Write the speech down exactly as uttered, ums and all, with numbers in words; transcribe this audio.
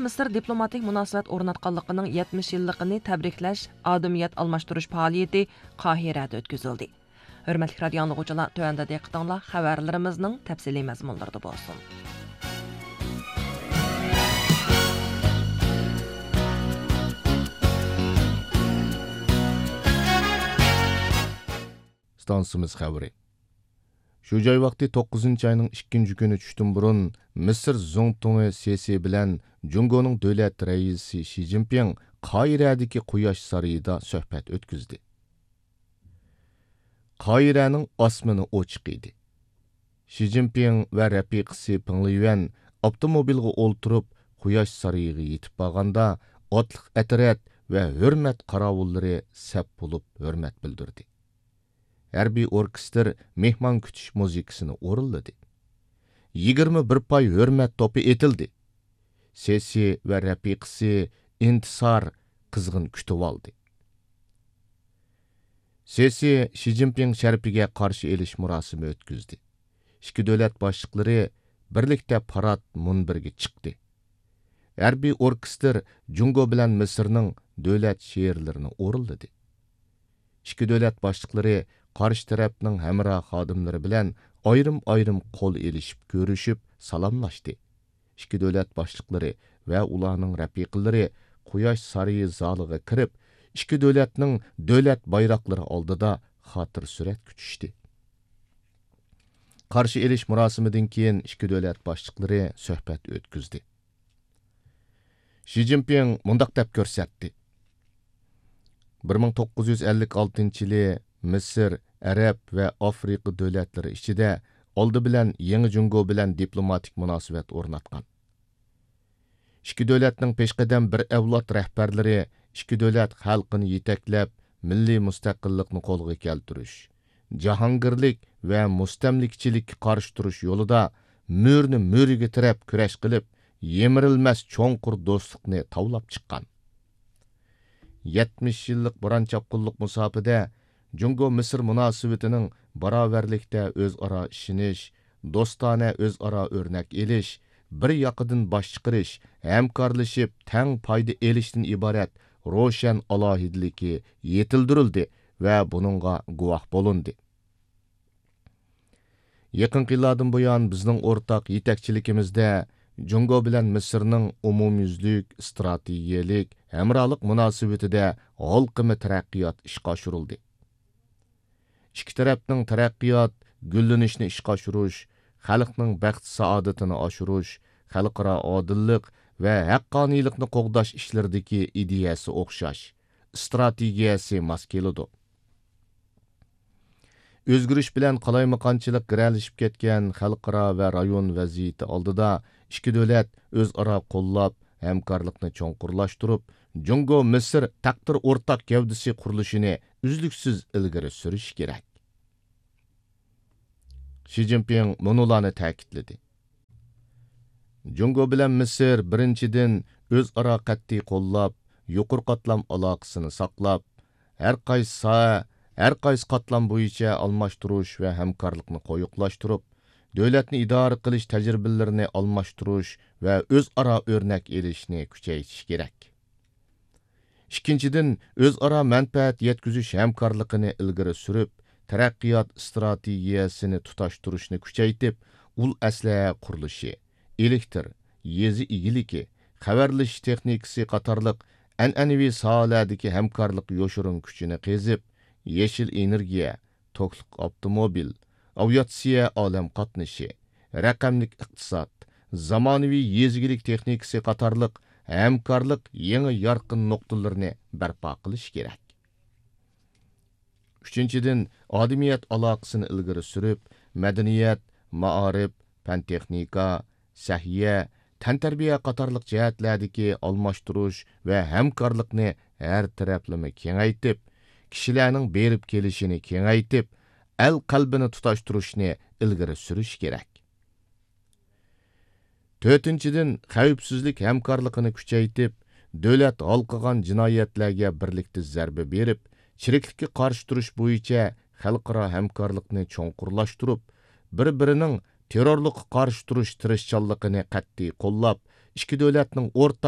مىسىر دىپلوماتىك مۇناسىۋەت ئورناتقانلىقىنىڭ يەتمىش يىللىقىنى تەبرىكلەش ئادىمىيەت ئالماشتۇرۇش پائالىيىتى قاھىرەدە ئۆتكۈزۈلدى. ھۆرمەتلىك رادىيو ئاڭلىغۇچىلار، تۆۋەندە دىققىتىڭلار خەۋەرلىرىمىزنىڭ تەپسىلىي مەزمۇنلىرىدا بولسۇن. ئىستانسىمىز خەۋىرى. شۇ جاي ۋاقتى توققۇزىنچى ئاينىڭ ئىككىنچى كۈنى چۈشتىن بۇرۇن مىسىر زۇڭتۇڭى سىسى بىلەن جۇڭگونىڭ دۆلەت رەئىسى شى جىنپىڭ قاھىرەدىكى قۇياش سارىيىدا سۆھبەت ئۆتكۈزدى. قاھىرەنىڭ ئاسمىنى ئوچۇق ئىدى. شى جىنپىڭ ۋە رەپىقىسى پېڭ لىيۈەن ئاپتوموبىلغا ئولتۇرۇپ، قۇياش سارىيىغا يېتىپ بارغاندا، ئاتلىق ئەترەت ۋە ھۆرمەت قاراۋۇللىرى سەپ بولۇپ ھۆرمەت بىلدۈردى. ھەربىي ئوركېستىر مېھمان كۈتۈش مۇزىكىسىنى ئورۇنلىدى. يىگىرمە بىر پاي ھۆرمەت توپى ئېتىلدى. سىسى ۋە رەپىقىسى ئىنتىسار قىزغىن كۈتۈۋالدى. سىسى شى جىنپىڭ شەرىپىگە قارشى ئېلىش مۇراسىمى ئۆتكۈزدى. ئىككى دۆلەت باشلىقلىرى بىرلىكتە پارات مۇنبىرىگە چىقتى. ھەربىي ئوركېستىر جۇڭگو بىلەن مىسىرنىڭ دۆلەت شېئىرلىرىنى ئورۇنلىدى. ئىككى دۆلەت باشلىقلىرى قارشى تەرەپنىڭ ھەمراھ خادىملىرى بىلەن ئايرىم-ئايرىم قول ئېلىشىپ كۆرۈشۈپ سالاملاشتى. ئىككى دۆلەت باشلىقلىرى ۋە ئۇلارنىڭ رەپىقىلىرى قۇياش سارىيى زالىغا كىرىپ، ئىككى دۆلەتنىڭ دۆلەت بايراقلىرى ئالدىدا خاتىرە سۈرەتكە چۈشتى. قارشى ئېلىش مۇراسىمىدىن كېيىن ئىككى دۆلەت باشلىقلىرى سۆھبەت ئۆتكۈزدى. شى جىنپىڭ مۇنداق دەپ كۆرسەتتى: بىر مىڭ توققۇز يۈز ئەللىك ئالتىنچى يىلى مىسىر، ئەرەب ۋە ئافرىقا دۆلەتلىرى ئىچىدە ئالدى بىلەن يېڭى جۇڭگو بىلەن دىپلوماتىك مۇناسىۋەت ئورناتقان. ئىككى دۆلەتنىڭ پېشقەدەم بىر ئەۋلاد رەھبەرلىرى ئىككى دۆلەت خەلقىنى يېتەكلەپ، مىللىي مۇستەقىللىقنى قولغا كەلتۈرۈش، جاھانگىرلىك ۋە مۇستەملىكىچىلىككە قارشى تۇرۇش يولىدا مۈرىنى مۈرىگە تىرەپ كۈرەش قىلىپ، يىمىرىلمەس چوڭقۇر دوستلۇقنى تاۋلاپ چىققان. يەتمىش يىللىق بوران چاپقۇنلۇق مۇساپىدە جۇڭگو مىسىر مۇناسىۋىتىنىڭ باراۋەرلىكتە ئۆزئارا ئىشىنىش، دوستانە ئۆزئارا ئۆرنەك ئېلىش، بىر ياقىدىن باش چىقىرىش، ھەمكارلىشىپ تەڭ پايدا ئېلىشتىن ئىبارەت روشەن ئالاھىدىلىكى يېتىلدۈرۈلدى ۋە بۇنىڭغا گۇۋاھ بولۇندى. يېقىنقى يىللاردىن بۇيان بىزنىڭ ئورتاق يېتەكچىلىكىمىزدە جۇڭگو بىلەن مىسىرنىڭ ئومۇميۈزلۈك ئىستراتېگىيەلىك ھەمراھلىق مۇناسىۋىتىدە ھالقىما تەرەققىيات ئىشقا ئاشۇرۇلدى. ئىككى تەرەپنىڭ تەرەققىيات، گۈللىنىشنى ئىشقا ئاشۇرۇش، خەلقنىڭ بەخت-سائادىتىنى ئاشۇرۇش، خەلقئارا ئادىللىق ۋە ھەققانىيلىقنى قوغداش ئىشلىرىدىكى ئىدىيەسى ئوخشاش، ئىستراتېگىيەسى ماس كېلىدۇ. ئۆزگىرىش بىلەن قالايمىقانچىلىق گىرەلىشىپ كەتكەن خەلقئارا ۋە رايون ۋەزىيىتى ئالدىدا ئىككى دۆلەت ئۆزئارا قوللاپ، ھەمكارلىقنى چوڭقۇرلاشتۇرۇپ، جۇڭگو مىسىر تەقدىر ئورتاق گەۋدىسى قۇرۇلۇشىنى ئۈزلۈكسىز ئىلگىرى سۈرۈشى كېرەك. شى جىنپىڭ مۇنۇلارنى تەكىتلىدى. جۇڭگو بىلەن مىسىر، بىرىنچىدىن، ئۆزئارا قەتئىي قوللاپ، يۇقىرى قاتلام ئالاقىسىنى ساقلاپ، ھەر قايسى ساھە، ھەر قايسى قاتلام بويىچە ئالماشتۇرۇش ۋە ھەمكارلىقنى قويۇقلاشتۇرۇپ، دۆلەتنى ئىدارە قىلىش تەجرىبىلىرىنى ئالماشتۇرۇش ۋە ئۆزئارا ئۆرنەك ئېلىشنى كۈچەيتىش كېرەك. ئىككىنچىدىن، ئۆزئارا مەنپەئەت يەتكۈزۈش ھەمكارلىقىنى ئىلگىرى سۈرۈپ، تەرەققىيات ئىستراتېگىيەسىنى تۇتاشتۇرۇشنى كۈچەيتىپ، ئۇل ئەسلىھە قۇرۇلۇشى، ئېلېكتىر، يېزا ئىگىلىكى، خەۋەرلىشىش تېخنىكىسى قاتارلىق ئەنئەنىۋى ساھەلەردىكى ھەمكارلىق يوشۇرۇن كۈچىنى قېزىپ، يېشىل ئېنېرگىيە، توكلۇق ئاپتوموبىل، ئاۋىئاتسىيە ئالەم قاتنىشى، رەقەملىك ئىقتىساد، زامانىۋى يېزا ئىگىلىك تېخنىكىسى قاتارلىق ھەمكارلىق يېڭى يارقىن نۇقتىلىرىنى بەرپا قىلىش كېرەك. ئۈچىنچىدىن، ئادىمىيەت ئالاقىسىنى ئىلگىرى سۈرۈپ، مەدەنىيەت، مائارىپ، پەن-تېخنىكا، سەھىيە، تەنتەربىيە قاتارلىق جەھەتلەردىكى ئالماشتۇرۇش ۋە ھەمكارلىقنى ھەر تەرەپلىمە كېڭەيتىپ، كىشىلەرنىڭ بېرىپ كېلىشىنى كېڭەيتىپ، ئەل قەلبىنى تۇتاشتۇرۇشنى ئىلگىرى سۈرۈش كېرەك. تۆتىنچىدىن، خەۋپسىزلىك ھەمكارلىقىنى كۈچەيتىپ، دۆلەت ھالقىغان جىنايەتلەرگە بىرلىكتە زەربە بېرىپ، چىرىكلىككە قارشى تۇرۇش بويىچە خەلقئارا ھەمكارلىقنى چوڭقۇرلاشتۇرۇپ، بىر-بىرىنىڭ تېررورلۇققا قارشى تۇرۇش تىرىشچانلىقىنى قەتئىي قوللاپ، ئىككى دۆلەتنىڭ ئورتاق